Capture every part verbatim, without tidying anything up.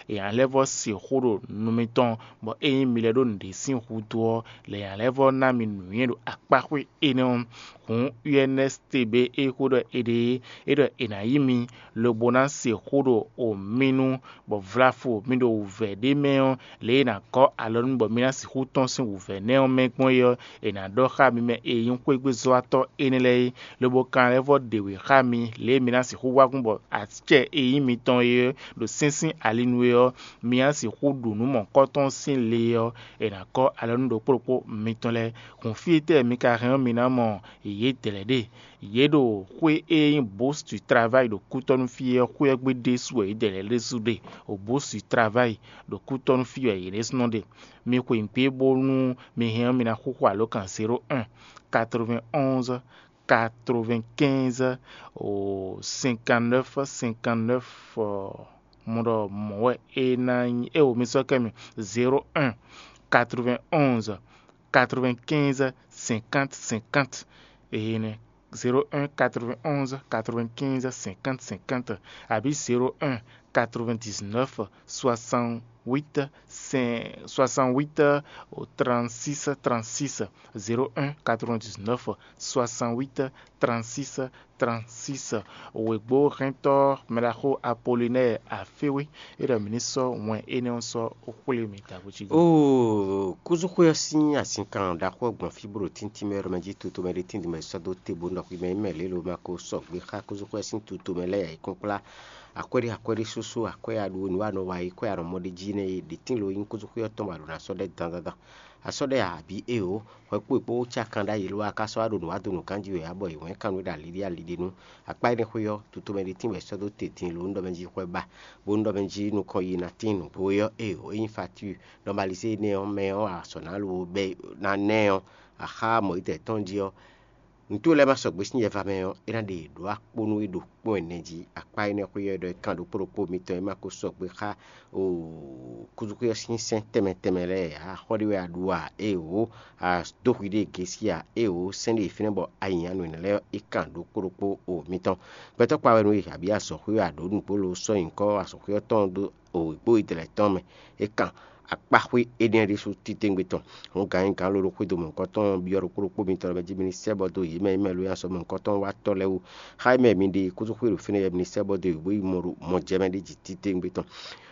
è nǎ lɛ́ vɔ́ se xó ɖo nu mitɔn, bɔ ényí mi lɛ́ ɖó nǔɖé sín hútu ɔ́, lě è nǎ lɛ́ vɔ́ ná mi nǔnywɛ́ ɖo akpáxwé énɛ́ ɔ́. Hǔn U N S T B e xó ɖɔ è ɖe é, é ɖɔ è nǎ yí mi, lobo ná se xó ɖo o mi nu, bɔ vlafo mi ɖo wǔvɛ́ ɖé mɛ ɔ́, lě e è nǎ gɔ́ alɔ nú bɔ mi ná sixú tɔ́n sín wǔvɛ́ nɛ́ ɔ́ mɛ gbɔn é ɔ́, è nǎ ɖɔ xá mi mɛ e nyí xwégbezɔ́watɔ́ énɛ́ lɛ́ɛ é, lobo kan lɛ́ vɔ́ ɖe wě xá mi, lě e mi ná sixú wá kún bɔ acɛ e nyí mitɔn é ɖo sɛ́n sín ali nu é ɔ́, mi ná sixú ɖu nǔ mɔ̌hunkɔtɔn sín le ɔ́, è nǎ gɔ́ alɔ nú ɖokpó ɖokpó mitɔn lɛ́ɛ. Hǔn fí e tɛ́ mi ka hɛn ɔ́, mi ná mɔ yědɛɛ lɛ́ɛ ɖe? Yě ɖo xwé e nyí Bourse du Travail ɖo kútɔ́nú fí é ɔ́, xwé ɔ́ gbe ɖésú wɛ yědɛɛ lɛ́ɛ ɖésú ɖe. O Bourse du Travail ɖo kútɔ́nú fí wɛ yě ɖésúnɔ ɖe. Mi xweyǐgbe bónú mi hɛn ɔ́, mi ná xúxú alǒkan zéro un, quatre-vingt-onze, quatre-vingt-quinze, cinquante-neuf, cinquante-neuf, mɔ ɖɔ mɔ̌ wɛ é ná nyí. Éwo mi sɔ́ kɛ mi: zéro un, quatre-vingt-onze, quatre-vingt-quinze, cinquante, cinquante. Énɛ́: zéro un, quatre-vingt-onze, quatre-vingt-quinze, cinquante, cinquante, abǐ zéro un, quatre-vingt-dix-neuf, soixante-huit, soixante-huit, trente-six, trente-six, zéro un, quatre-vingt-dix-neuf, soixante-huit, trente-six, trente-six. Wěgbóhɛntɔ́ mɛɖaxó Apolinɛ́ɛ Aféwé, é ɖɔ mǐ ní sɔ́ wɛn énɛ́ ɔ́ sɔ́ xwlé mi tabují. Oo, kúzúxwé ɔ́ sín azinkan ɖaxó ɔ́ gbɔn fí bó ɖo tíntín mɛ ɖɔ mɛ jí tutomɛ ɖé tín mɛ sɔ́ dó te bó nɔ xwimɛ mɛ lě lo ma ko sɔgbe xá kúzúxwé ɔ́ sín tutomɛ lɛ́ɛ ayǐkúnkplá. Akwɛ́ɖí akwɛ́ɖí súsú, akwɛ́ aɖu nǔ anɔ wa yi, kwɛ́ anɔ mɔ ɖ'é jí nɛ́ e ɖě tín lo nyí kúzúxwé ɔ́ tɔn bɔ a ɖo ná sɔ́ ɖɛ dandandan. A sɔ́ ɖɛ a bǐ éeǒ, hwɛ kpó è kpó cá kan ɖ'ayǐ lo a ka sɔ́ wá ɖo nǔ wa dó nǔ ganjí wɛ ǎ bɔ è wɛ̌n kan nú é ɖo aliɖí aliɖí nu. Akpá énɛ́ xwé ɔ́, tutomɛ ɖé tín wɛ sɔ́ dó te din lo un ɖɔ mɛ jí xwɛ ba, bó un ɖɔ mɛ jí nukɔn yi ná tín nǔgbó é ɔ́, éeǒ, é nyí fatíi. Nɔmalizé énɛ́ ɔ́ mɛ ɔ́, a sɔ̌ ná lo bɛ́ ná nɛ́ ɔ́, a xá mɔ̌yítɛ́ tɔn jí ɔ́, nǔtó lɛ́ɛ ma sɔgbe sín nyɛ va mɛ ɔ́, é ná ɖe yě ɖó akpó nú é ɖo kpɔ́n ɛnɛ jí. Akpá énɛ́ xwé ɔ́ ɖɔ é kan ɖokpó ɖokpó mitɔn e ma ko sɔgbe xá kúzúxwé ɔ́ sín sɛ́n tɛnmɛ tɛnmɛ lɛ́ɛ ǎ. Xɔ ɖé wɛ a ɖu a? Éeǒ, a dó hwi ɖé gěsí a? Éeǒ, sɛ́n ɖé fínɛ́ bɔ a nyi anu lɛ́ɛ é kan ɖokpó ɖokpó o mitɔn. Gbɛtɔ́ kpa wɛ nú e, abǐ azɔ̌xwé wɛ a ɖǒ nǔgbó lo sɔ́ nyǐkɔ azɔ̌xwé ɔ́ tɔn dó o gbó yi dlɛ̌ tɔn mɛ. É kan akpáxwé énɛ́ ɖésú titewungbe tɔn. Hǔn gǎn e gǎn lolo xwedó mɔ̌hunkɔtɔn byɔ́ ɖokpó ɖokpó mitɔn lɛ́ɛ mɛ jí mi ní sɛ́ bɔ dó yě mɛ e mɛ lo nyi azɔ̌ mɔ̌hunkɔtɔn wá tɔ́ lɛ́ɛ wú. Xá e mɛ mi ɖe kúzú xwé ɖo fínɛ́ yɛ mi ní sɛ́ bɔ dó yě bó yi mɔ ɖo mɔjɛmɛ ɖé jí titewungbe tɔn.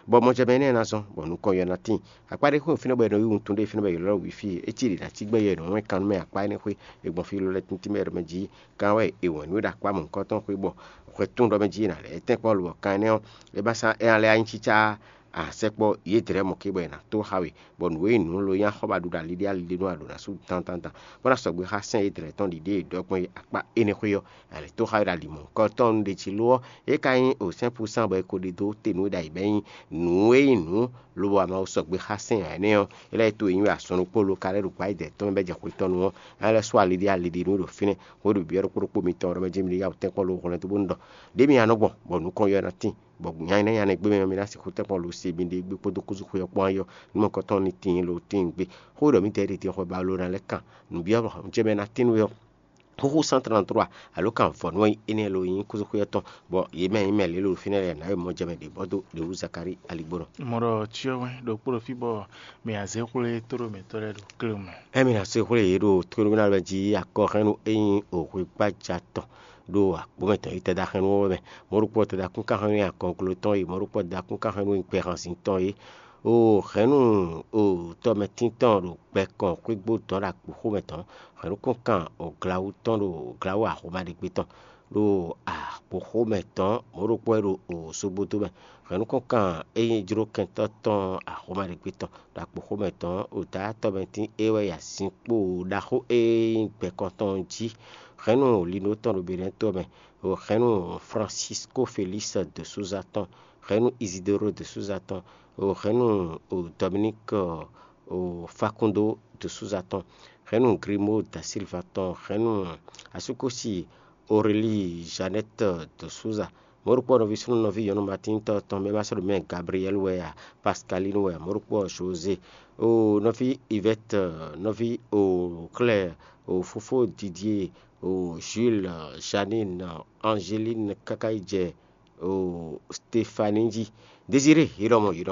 Bɔ mɔjɛmɛ énɛ́ ná zɔ́n, bɔ nukɔn yɔ ná tíin. Akpá ɖé xwé fínɛ́ bɔ è nɔ yí wuntun ɖé fínɛ́ bɔ è ylɔ́ ɖɔ wǐfí é, é cí ɖě ná cí gbɛ́ yɔ è nɔ wɛ́n kan nú mɛ akpá énɛ́ xwé, è gbɔn fí lɔ lɛ́ɛ tíntín mɛ ɖɔ mɛ jí. Kan wɛ è wɛ̌n nú é ɖo akpá mɔ̌hunkɔtɔn xwé bɔ hwɛ tún ɖɔ mɛ jí è nǎ lɛ́ tɛ́nkpɔ́ lo ɔ́, kan énɛ́ ɔ́, é ba sá é ná lɛ́ anyí cícá a sɛkpɔ́ yědɛɛ mɔ̌ ké bɔ è nǎ tó xa we, bɔ nǔ e nyí nǔ lo nyí axɔ́ ba ɖu ɖo aliɖí aliɖí nú a ɖǒ ná sú dandandan, bó ná sɔgbe xá sɛ́n yědɛɛ tɔn ɖiɖée e ɖɔ gbɔn é akpá énɛ́ xwé ɔ́, a lɛ̌ tó xa we ɖo ali mɔ̌hunkɔtɔn ɖe jí lo ɔ́, é ka nyí o sɛ́n púsán bɔ è ko ɖe dó te nú é ɖ'ayǐ bɔ é nyí nǔ e nyí nǔ lobo wá Mawu sɔgbe xá sɛ́n ǎ énɛ́ ɔ́, é lɛ́ to e nyí wɛ azɔn ɖokpó lo ka lɛ́ ɖo gbǎ yi dɛ̌ tɔn mɛ bɔ é jɛ xwetɔ́nu ɔ́, é lɛ́ sú aliɖí aliɖí nú ɖo fínɛ́. Hwenu e ɖo byɔ́ ɖokpó ɖokpó mitɔn ɔ́ ɖɔ mɛ jí mi ɖo yá wǔ tɛ́nkpɔ́n lo hwlɛ́n dó bó nú ɖɔ: Ɖě mi ná nɔ gbɔn, bɔ nukɔn yɔ ná tíin, bɔ nya énɛ́ nya nɛ́ gbé mɛ ɔ́, mi ná sixú tɛ́nkpɔ́n lo se mi ɖe gbé kpódó kúzú xwé ɔ́ kpɔ́n ayɔ, nú mɔ̌hunkɔtɔn ní tíin lo tíin gbé. Xó ɖɔ mǐ tɛ́ ɖe din xwɛ ba lo ná lɛ́ kan nǔbyɔ́ mɔ jɛ mɛ ná tín nú we ɔ́, xúxú cent trente-trois, alo kan vɔ̌nu ɔ́ nyí énɛ́ lo nyí kúzúxwé ɔ́ tɔn, bɔ yě mɛ nyí mɛ lě lo ɖo fínɛ́ lɛ́ɛ nǎ e mɔ jɛ mɛ ɖě bɔ dó ɖě wú Zakalíi aligbónɔ. Mɔ ɖɔ cyɔ wɛn ɖokpó ɖo fí bɔ mɛ azě xwlé tó ɖo mɛtɔ́ lɛ́ɛ ɖo kléwun mɛ. Ɛmi ná se xwlé yě ɖo tlólómínálɔmɛ jí akɔhɛ́nnu e nyí òhwegbaja tɔn ɖo akpó mɛ tɔn yi tɛda xɛnnu ɔ́ mɛ. Mɔ̌ ɖokpó tɛda kún ká xɛnnu e akɔglo tɔn yi, mɔ̌ ɖokpó tɛda kún ká xɛnnu e gbɛhanzin tɔn yi. O hɛ̌nnu o tɔmɛtín tɔn ɖo gbɛ kɔn xwégbó dɔn ɖo akpǒ xomɛ tɔn. Hɛ̌nnu kún kan o glawu tɔn ɖo glawu axɔ́ma ɖé gbé tɔn ɖo akpǒ xomɛ tɔn, mɔ̌ ɖokpó wɛ ɖo o sógbódó mɛ. Hɛ̌nnu kún kan e nyí jlókɛntɔ́ tɔn axɔ́ma ɖé gbé tɔn ɖo akpǒ xomɛ tɔn, o dǎ tɔmɛtín é wɛ yi azinkpo ɖaxó e nyí gbɛ kɔn tɔn jí. Hɛ̌nnu lino tɔn ɖo Benɛ́ to mɛ, o hɛ̌nnu Francisco Félix de Souza tɔn, hɛ̌nnu Isidoro de Souza tɔn, o hɛ̌nnu o Dominique o Facundo de Souza tɔn, hɛ̌nnu Grimaud da Silva tɔn, hɛ̌nnu asúkúsi Aurélie Jeannette de Souza. Mɔ̌ ɖokpó nɔví súnnu nɔví nyɔ̌nu Matín tɔn tɔn mɛ ma sɔ́ ɖo mɛ Gabriel wɛ a, Pascaline wɛ a, mɔ̌ ɖokpó José, o nɔví Yvette, nɔví o Claire, o fofó Didier, o Jules, Janine, Angeline káká yi jɛ o Stéphanie jí. Désiré, yě ɖɔ mɔ yě ɖɔ